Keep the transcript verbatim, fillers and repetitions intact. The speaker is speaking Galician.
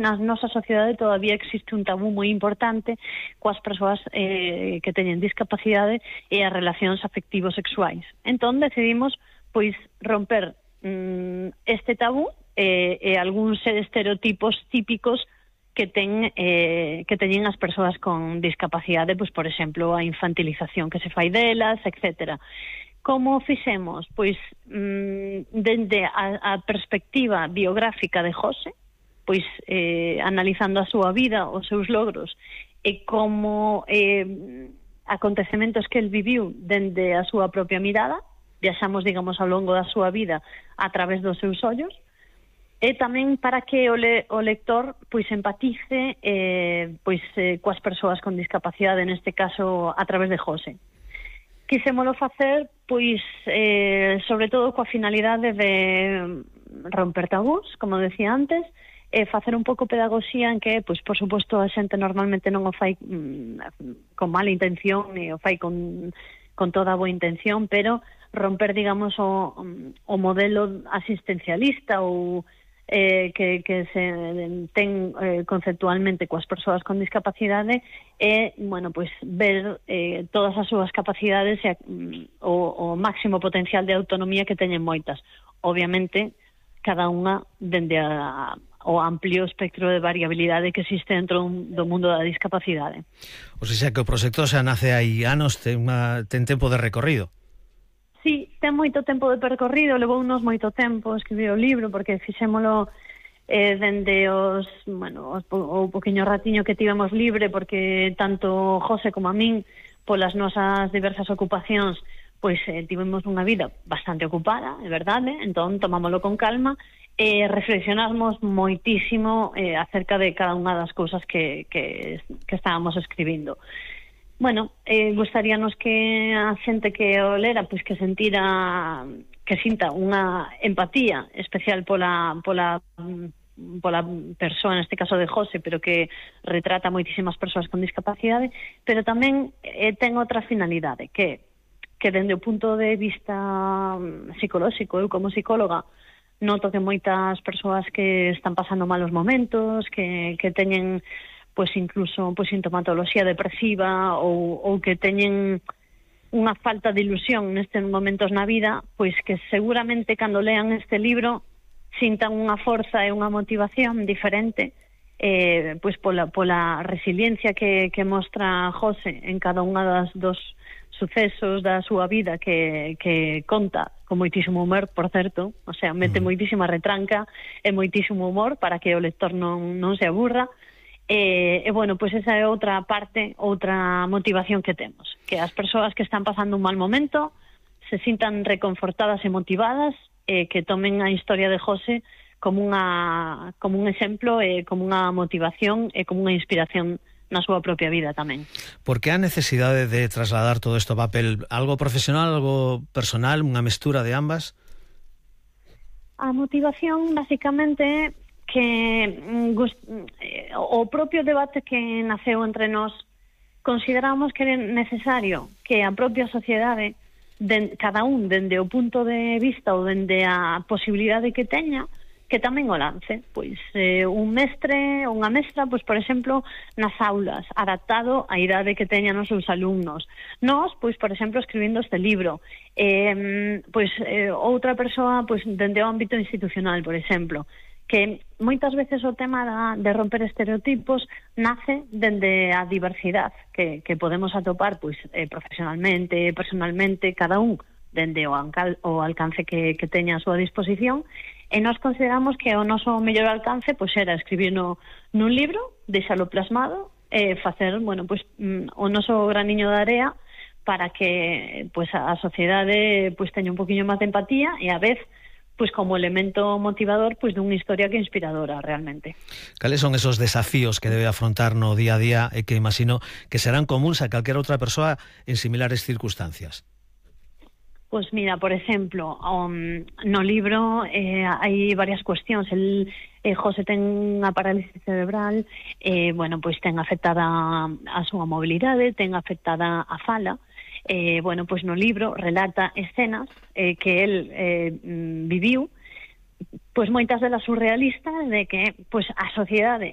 na nosa sociedade todavía existe un tabú moi importante coas persoas eh, que teñen discapacidade e as relacións afectivos sexuais. Entón decidimos pois romper mm, este tabú e, e algúns estereotipos típicos que ten eh, que teñen as persoas con discapacidade, pois por exemplo, a infantilización que se fai delas, etcétera. Como fixemos? Pois mm, dende a, a perspectiva biográfica de José, pois eh, analizando a súa vida, os seus logros e como eh, acontecementos que el viviu dende a súa propia mirada, viaxamos, digamos, ao longo da súa vida a través dos seus ollos, e tamén para que o, le, o lector pois empatice eh, pois eh, coas persoas con discapacidade, neste caso a través de José. Quisémolo facer pois eh, sobre todo coa finalidade de romper tabús, como decía antes, e facer un pouco pedagogía en que, pois, por suposto, a xente normalmente non o fai mm, con mala intención e o fai con, con toda a boa intención, pero romper, digamos, o, o modelo asistencialista ou eh, que, que se ten eh, conceptualmente coas persoas con discapacidade e, bueno, pois, ver eh, todas as súas capacidades e mm, o, o máximo potencial de autonomía que teñen moitas. Obviamente, cada unha dende a o amplio espectro de variabilidade que existe dentro do mundo da discapacidade. O sea que o proxecto xa nace hai anos, ten, unha, ten tempo de recorrido. Sí, ten moito tempo de percorrido, levou unos moito tempo escribir o libro, porque fixémolo eh, dende os, bueno, os, o poquinho ratiño que tivemos libre, porque tanto José como a min, polas nosas diversas ocupacións, pois eh, tivemos unha vida bastante ocupada, é verdade, entón tomámoslo con calma, e reflexionamos moitísimo eh, acerca de cada unha das cousas que, que, que estábamos escribindo. Bueno, eh, gustaríanos que a xente que o lera, pois que sentira, que sinta unha empatía especial pola, pola, pola persoa, neste caso de José, pero que retrata moitísimas persoas con discapacidade, pero tamén eh, ten outra finalidade, que, que dende o punto de vista psicolóxico, eu como psicóloga, noto que moitas persoas que están pasando malos momentos, que, que teñen pois incluso pois sintomatoloxía depresiva ou, ou que teñen unha falta de ilusión nestes momentos na vida, pois que seguramente cando lean este libro sintan unha forza e unha motivación diferente eh, pois pola, pola resiliencia que, que mostra José en cada unha das dos sucesos da súa vida que, que conta con moitísimo humor, por certo, o sea, mete moitísima retranca e moitísimo humor para que o lector non, non se aburra. E, e, bueno, pois esa é outra parte, outra motivación que temos, que as persoas que están pasando un mal momento se sintan reconfortadas e motivadas e que tomen a historia de José como unha como un exemplo e como unha motivación e como unha inspiración na súa propia vida tamén. Por que a necesidade de trasladar todo isto a papel? Algo profesional, algo personal, unha mestura de ambas? A motivación, basicamente, é que o propio debate que naceu entre nós, consideramos que é necesario que a propia sociedade, de, cada un dende o punto de vista ou dende a posibilidade que teña, que tamén o lance, pois eh, un mestre ou unha mestra, pois por exemplo, nas aulas, adaptado á idade que teñan os seus alumnos. Nós, pois por exemplo, escribindo este libro, eh, pois eh, outra persoa, pois dende o ámbito institucional, por exemplo, que moitas veces o tema da, de romper estereotipos nace dende a diversidade que, que podemos atopar pois eh, profesionalmente, personalmente, cada un dende o, ancal, o alcance que, que teña a súa disposición, e nós consideramos que o noso mellor alcance pois era escribir no, nun libro, deixalo plasmado e facer, bueno, pois mm, o noso graniño de area para que pois a sociedade pois teña un poquinho máis de empatía e a vez pois como elemento motivador pois dunha historia que é inspiradora realmente. Cales son esos desafíos que debe afrontar no día a día e que imagino que serán comuns a calquera outra persoa en similares circunstancias? Pois mira, por exemplo, um, no libro eh, hai varias cuestións. El, eh, José ten unha parálisis cerebral, eh, bueno, pois ten afectada a súa mobilidade, ten afectada a fala. Eh, bueno, pois no libro relata escenas eh, que el eh, viviu, pois moitas delas surrealistas, de que pois a sociedade